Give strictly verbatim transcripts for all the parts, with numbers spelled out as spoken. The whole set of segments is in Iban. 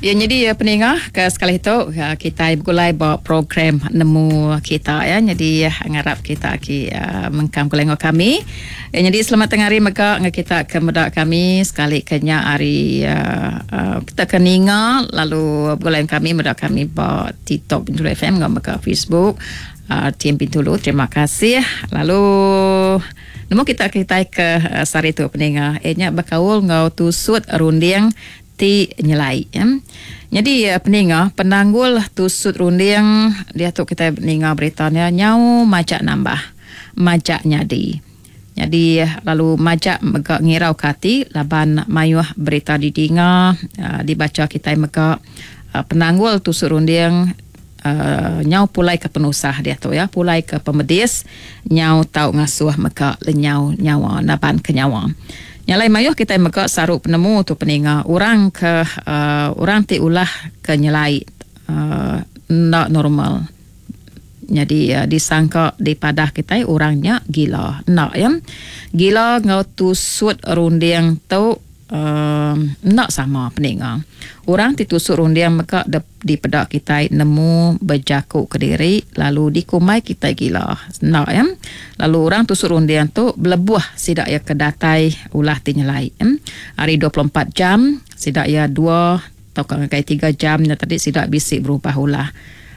Ya, jadi ya, peninga ke sekali tu ya, kita begulai ba program Nemu Kita ya. Jadi ya, ngarap kita ki uh, mengkang gulai enggau kami. Ya, jadi selamat tengah hari mega enggau kita ke meda kami sekali ke nya hari uh, uh, kita ke ninga lalu begulai kami meda kami ba TikTok Bintulu F M enggau mega Facebook uh, T M Bintulu. Terima kasih. Lalu nemu kita kita ke uh, sehari tu peninga eh nya bekaul enggau tusut runding ti nyelai ya. Jadi peninga penanggul tusut runding dia tu kita ninga beritanya nyau majak nambah majak nyadi. Jadi lalu majak mega ngirau ke ati laban mayuh berita didinga dibaca kita mega penanggul tusut runding uh, nyau pulai ke penusah dia tu ya, pulai ke pemedis nyau tau ngasuh mega lenyau nyawa naban ke nyawa. Nyalai mayuh kita mega saru penemu tu peninga orang ke uh, orang ti ulah ke nyelai uh, ndak normal. Jadi uh, disangka dipadah kita orangnya gila. Ndak ya. Gila ngau tusut runding tu uh, ndak sama peninga. Orang ti tusut runding mega dipedak kita nemu berjaku ke diri lalu dikumai kita gila. Ndak ya. Lalu orang tusut runding tu belebuh sidak ya ke datai ulah ti nyelai. Ya. Hari dua puluh empat jam sidak ya dua atau ke tiga jam nya tadi sidak bisik berubah ulah.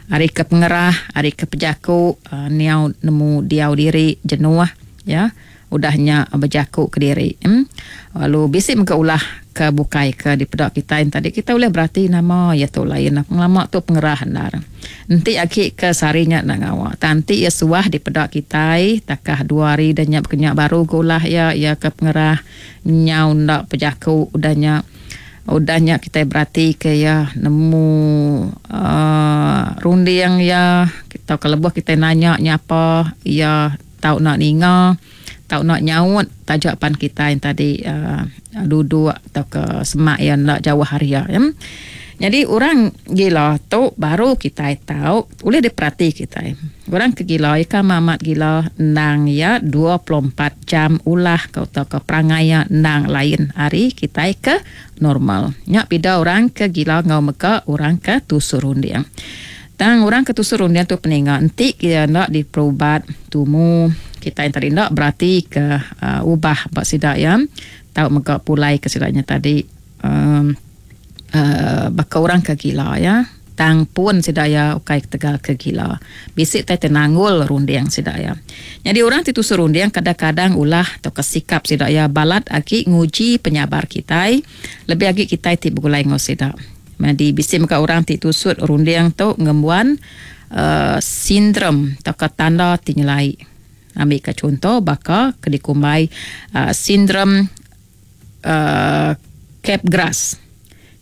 Hari ke pengerah, hari ke pejaku, uh, niau nemu diau diri jenuh ya. Udahnya berjaku ke diri. Hmm. Lalu bisik mega ulah ke bukai ke dipedak kita yang tadi kita boleh berarti nama ya tu lain pengelama tu pengerah andar. Enti aki ke sarinya nak ngawak. Tanti ya suah dipedak kita takah dua hari dan nyak kenyak baru gulah ya ya ke pengerah nyau ndak pejaku udahnya udahnya kita berarti ke ya nemu uh, runding ya kita kalau buah kita nanya nyapa ya tau nak ninga tau nak nyaut tajak pan kita yang tadi uh, duduk atau ke semak yang nak jauh hari ya. Jadi orang gila tu baru kita tahu boleh diperhati kita. Orang ke gila ikan mamat gila nang ya dua puluh empat jam ulah kau tahu ke perangai ya nang lain hari kita ke normal. Nyak bida orang ke gila ngau meka orang ke tusur runding. Tang orang ke tusur runding tu peninga entik kita nak diperubat tumu kita yang tadi nak berarti ke uh, ubah bak sidak ya tahu mega pulai ke sidaknya tadi um, uh, baka orang ke gila ya tang pun sidak ya ukai tegal ke gila bisik tai tenanggul runding sidak ya. Jadi orang ti tusur runding kadang-kadang ulah atau kesikap sidak ya balat agi nguji penyabar kita lebih agi kita ti begulai ngau sidak. Jadi bisik mega orang ti tusut runding tu ngembuan uh, sindrom atau tanda ti nyelai. Ambil ke contoh baka kedikumbai uh, sindrom uh, Capgras.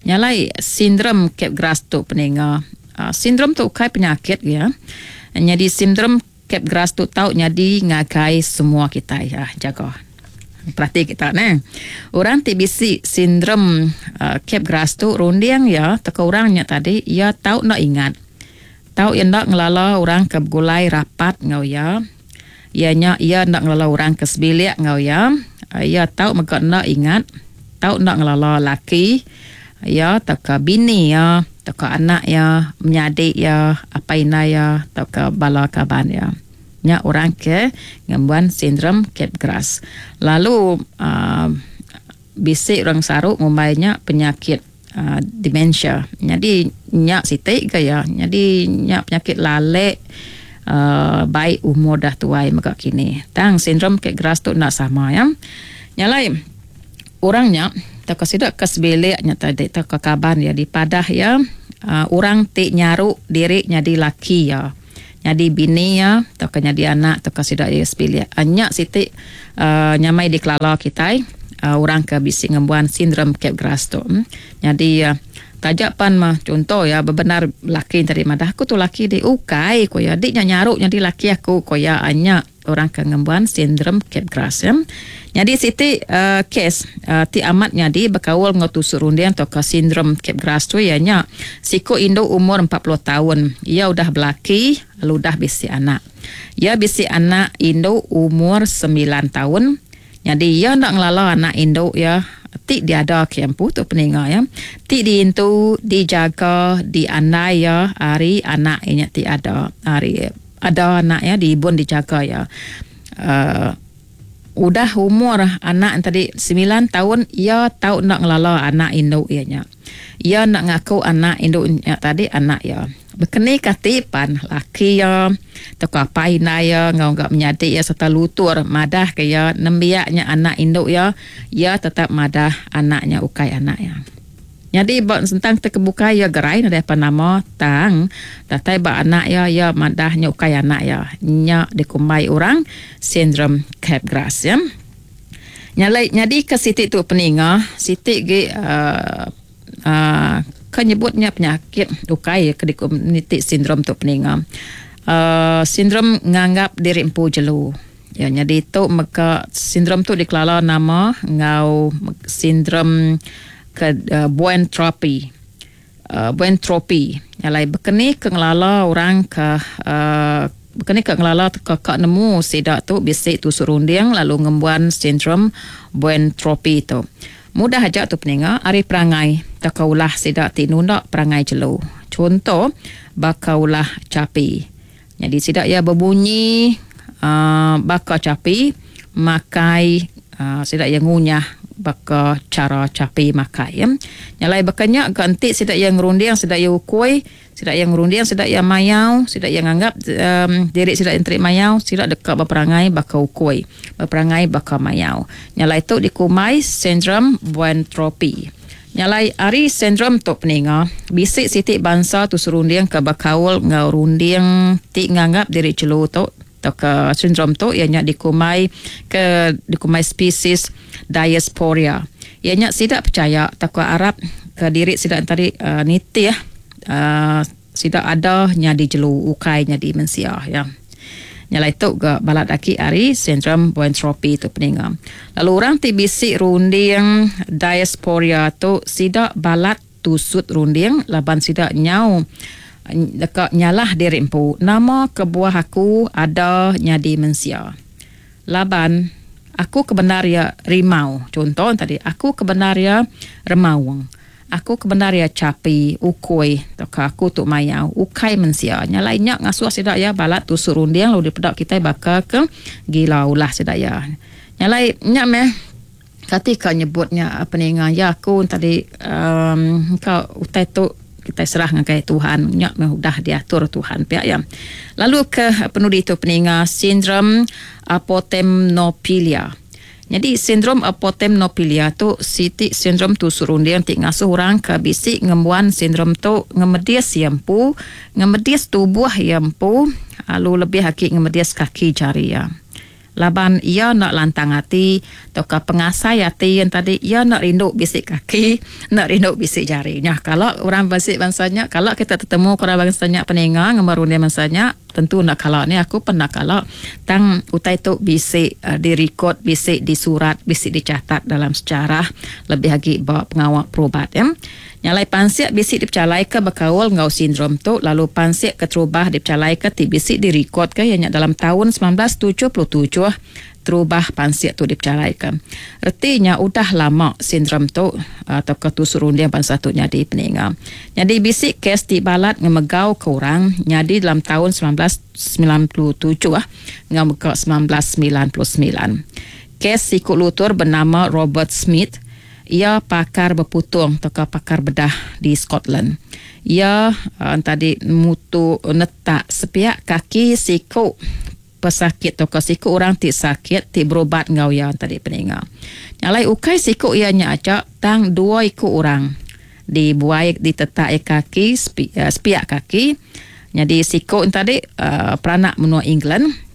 Nyalai sindrom Capgras tu peninga. Uh, sindrom tu kai penyakit ya. Jadi sindrom Capgras tu tau nyadi ngagai semua kita ya jaga. Perhati kita ne. Orang ti bisi sindrom uh, Capgras tu runding ya teka orangnya tadi ya tau nak ingat. Tau yang nak ngelala orang ke begulai rapat ngau ya. Ia nya ia nak ngelala orang ke sebilik ngau ya. Ia tau mega nak ingat, tau nak ngelala laki ya tau ke bini ya, tau ke anak ya, menyadik ya, apa ina ya, tau ke bala kaban ya. Nya orang ke ngembuan sindrom Capgras. Lalu uh, bisik orang saruk ngumbainya penyakit uh, dementia. Jadi nya sitik ke ya. Jadi nya penyakit lalek Uh, baik umur dah tuai mega kini. Tang sindrom Capgras tu nak sama ya. Nyalai orangnya tak kesidak ke sebiliknya tadi tak ke kaban ya di padah ya. Uh, orang ti nyaru diri nyadi laki ya. Nyadi bini ya, tak ke nyadi anak tak kesidak ya sebilik. Anyak sitik uh, nyamai dikelala kita uh, orang ke bisi ngembuan sindrom Capgras tu. Hmm. Nyadi uh, tajak pan mah contoh ya benar laki tadi madah aku tu laki di ukai ko ya dik nyaruk jadi laki aku ko ya anyak orang ke ngembuan sindrom Capgras ya. Jadi siti uh, kes uh, ti amat nyadi bekaul ngau tusuk runding atau ke sindrom Capgras tu ya nya siko induk umur empat puluh tahun ia udah belaki lalu udah bisi anak. Ia bisi anak induk umur sembilan tahun. Jadi ia nak ngelala anak induk ya ti diada ke empu tu peninga ya. Ti diintu, dijaga, diandai ya ari anak inya ti ada ari ada anak ya diibun dijaga ya. Uh, udah umur anak tadi sembilan tahun ia tau nak ngelala anak induk ia nya. Ia nak ngaku anak induk nya tadi anak ia. Bekeni kati pan laki ia toko apai indai ia ngau gak menyadi ia serta lutur madah ke ia nembiaknya anak induk ia, ia tetap madah anaknya ukai anak ia. Jadi ba tentang terkebuka ia gerai nadai apa nama tang datai ba anak ia ia madahnya ukai anak ia. Nya dikumbai orang sindrom Capgras ya. Nyalai nyadi ke siti tu peninga, siti ge uh, uh, kenyebutnya penyakit ukai ke dikomuniti sindrom tu peninga. Uh, sindrom nganggap diri empu jelu. Ya, jadi tu maka sindrom tu dikelala nama ngau sindrom ke uh, Boentropy. Uh, Boentropy. Nyalai bekeni ke ngelala orang ke uh, bekeni ke ngelala ke kak nemu sidak tu bisi tusuk runding lalu ngembuan sindrom Boentropy tu. Mudah aja tu peninga ari perangai takaulah sidak ti nunda perangai jelu. Contoh bakaulah capi. Jadi sidak ia berbunyi uh, baka capi makai uh, sidak ia ngunyah baka cara capi makai ya. Nyalai bakanya ganti sidak yang ngerunding sidak yang ukui, sidak yang ngerunding sidak yang mayau, sidak yang anggap um, diri sidak yang terik mayau, sidak dekat berperangai baka ukui, berperangai baka mayau. Nyalai tu dikumai sindrom Boentropy. Nyalai ari sindrom tu peninga, bisik sitik bangsa tu serunding ke bakaul ngau runding ti nganggap diri celu tu atau ke sindrom tu ianya dikumai ke dikumai spesies diasporia. Ianya sidak percaya takwa Arab ke diri sidak tadi uh, nitih uh, sidak ada nyadi jelu ukai nyadi mensia ya. Nyalai tu ke balat aki ari sindrom Boentropy tu peninga. Lalu orang ti bisik runding diasporia tu sidak balat tusut runding laban sidak nyau dekat nyalah diri empu. Nama kebuah aku ada nyadi mensia. Laban aku kebenar ya rimau. Contoh tadi aku kebenar ya remaung. Aku kebenar ya capi, ukui, atau aku tu mayau, ukai mensia. Nyalai nyak ngasuh sidak ya balat tusuk runding lalu dipedak kita bakal ke gila ulah sidak ya. Nyalai nyak meh ketika nyebutnya peninga ya aku tadi um, kau utai tu kita serah ngagai Tuhan nyak meh udah diatur Tuhan pihak ya. Lalu ke penudi tu peninga sindrom apotemnopilia. Jadi sindrom apotemnopilia tu siti sindrom tu surunding ti ngasuh orang ke bisik ngembuan sindrom tu ngemedis yempu, ngemedis tubuh yempu, lalu lebih haki ngemedis kaki jari ya. Laban ia nak lantang hati atau ke pengasai hati yang tadi ia nak rindu bisik kaki, nak rindu bisik jari. Nah, kalau orang bisik bangsanya, kalau kita tertemu orang bangsanya peninga ngemarun dia bangsanya, tentu nak kalau ni aku pernah kalau tang utai tu bisik uh, direkod, bisik disurat, bisik dicatat dalam sejarah lebih lagi bawa pengawal perubat ya. Nyalai pansiak bisik dipecalai ke berkaul ngau sindrom tu lalu pansiak keterubah dipecalai ke ti bisik direkod ke ianya dalam tahun sembilan belas tujuh puluh tujuh terubah pansiak tu dipecalai ke. Ertinya udah lama sindrom tu atau ketusurundian bangsa tu nyadi peninga. Jadi bisik kes ti balat ngemegau ke orang nyadi dalam tahun sembilan belas sembilan puluh tujuh ah ngau ke sembilan belas sembilan puluh sembilan. Kes sikut lutur bernama Robert Smith. Ia pakar berputung atau pakar bedah di Scotland. Ia uh, tadi mutu netak sepiak kaki siku pesakit atau siku orang ti sakit ti berobat ngau ia tadi peninga. Nyalai ukai siku ia nya acak tang dua iku orang dibuai ditetak kaki sepi, uh, sepiak kaki. Jadi siku tadi uh, peranak menua England.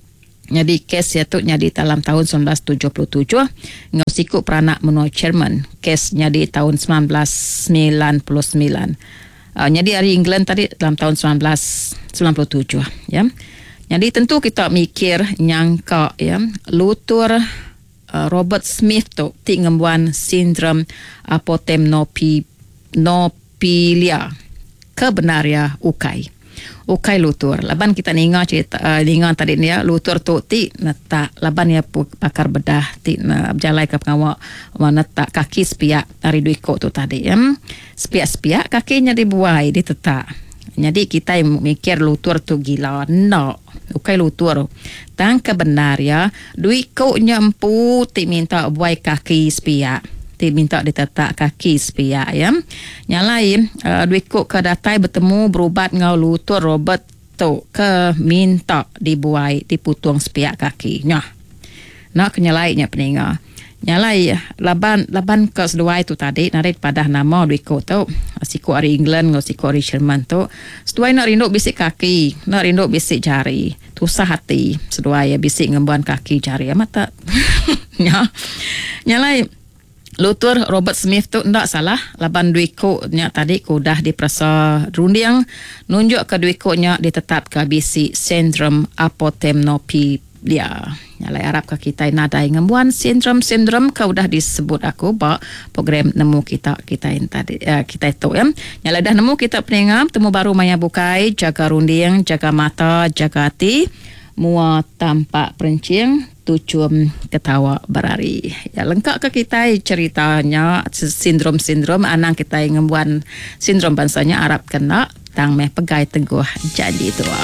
Jadi kes ia tu nyadi dalam tahun sembilan belas tujuh puluh tujuh ngau siku peranak menua Jerman. Kes nyadi tahun sembilan belas sembilan puluh sembilan. Uh, nyadi hari England tadi dalam tahun sembilan belas sembilan puluh tujuh ya. Jadi tentu kita mikir nyangka ya lutur uh, Robert Smith tu ti ngembuan sindrom apotemnopilia kebenaria ukai. Ukai lutur. Laban kita ninga cerita uh, ninga tadi ni ya, lutur tu ti netak laban ya pakar bedah ti uh, berjalai ke pengawa netak kaki sepiak ari dua iko tu tadi ya. Sepiak-sepiak kakinya dibuai ditetak. Jadi kita mikir lutur tu gila. No. Ukai lutur. Tang ke benar ya, dua iko nya empu ti minta buai kaki sepiak. Ti minta ditetak kaki sepiak ya. Nyalai uh, dua iko ke datai bertemu berubat ngau lutur Robert tu ke minta dibuai diputung sepiak kaki. Nyah. Nak kenyalai nya peninga. Nyalai laban laban ke seduai tu tadi narit padah nama dua iko tu siku ari England ngau siku ari Jerman tu. Seduai nak rindu bisik kaki, nak rindu bisik jari. Tusah hati seduai ya bisik ngembuan kaki jari amat tak. Nya. Nyalai lutur Robert Smith tu ndak salah laban dua iko nya tadi ku dah diperasa runding nunjuk ke dua iko nya ditetap ke bisi sindrom apotemnophilia. Nyalai arap ke kita nadai ngembuan sindrom-sindrom ke udah disebut aku ba program nemu kita kita yang tadi uh, kita tu ya. Nyalai dah nemu kita peninga temu baru maya bukai, jaga runding, jaga mata, jaga hati, mua tampak perencing, tucum ketawa berari. Ya lengkap ke kita ceritanya sindrom-sindrom anang kita ngembuan sindrom bangsanya arap kena tang meh pegai teguh janji tua.